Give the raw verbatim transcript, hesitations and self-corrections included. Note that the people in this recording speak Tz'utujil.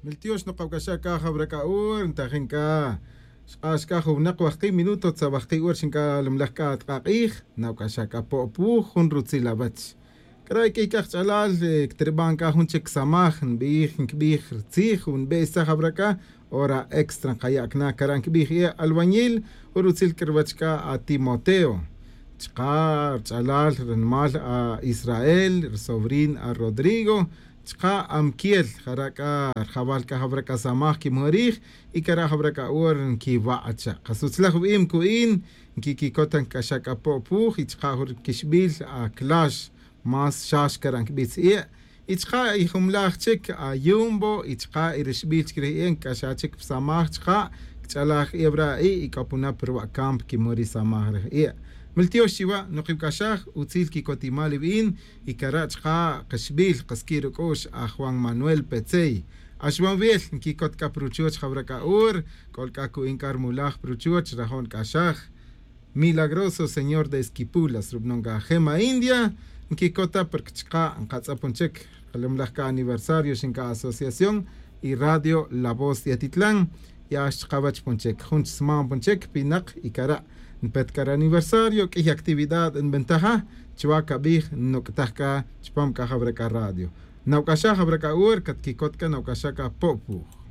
Ltiox nokawc'axaj c'a jawra c'a hora ntajin c'a xk'ax c'a jun winak wajki' minuto tzawajki' hora xin c'a lumlaj c'a atk'ak'ij. Nawc'axaj c'a po'puj jun rutzil awech. C'ara' q'uiy c'a kach'alal, ctriban c'a jun chic samaj nbij nquibij tzij o nbesaj jawra c'a hora extra nkayac na cara' nquibij e' albañil. Jun rutzil c'a ruwech c'a atimoteo chka' rch'alal rinimal a-israel, risobrin a-rodrigo, chka' amquiel jara' c'a rjawal c'a jawra c'a samaj quimuhurij. Y cara' jawra c'a hora nquiwa' cha' kasutzlaj wibim cu'in nquiquicot nc'axaj c'a po'puj y chka' jun quixbil aclax. Más xax cara' nquibitz e' y chka' y jumlaj chic ayumbo y chka' y rixbil chic rij e' nc'axaj chic pa samaj chka' cch'alaj e' wara' a'i' y c'o puna pa ruwa' campo quimuhurij samaj rij e'. Miltiox chiwa' nokibc'axaj utzil quicotimal iwin. Y cara' chka' kaxbil kasqui' ruc'u'x a juan manuel petzey. Axwan wil nquicot c'a pa ruchuoch jawra c'a hora c'ol c'a cu'in c'a rimulaj pa ruchuoch rajo' nc'axaj. Milagroso señor de esquipulas rubanon c'a jema india. Nquicota porque chka' nkatz'apon chic kalumlaj c'a aniversario xin c'a asociación y radio la voz de atitlan. Ya xchkawech pon chic jun chsman pon chic pinak y cara' npet c'a ri aniversario q'uiy actividad nbentaja. Chuwa cabij nuc'taj c'a chupam c'a jawra c'a radio. Nawc'axaj jawra c'a hora catquicot c'a nawc'axaj c'a po'puj.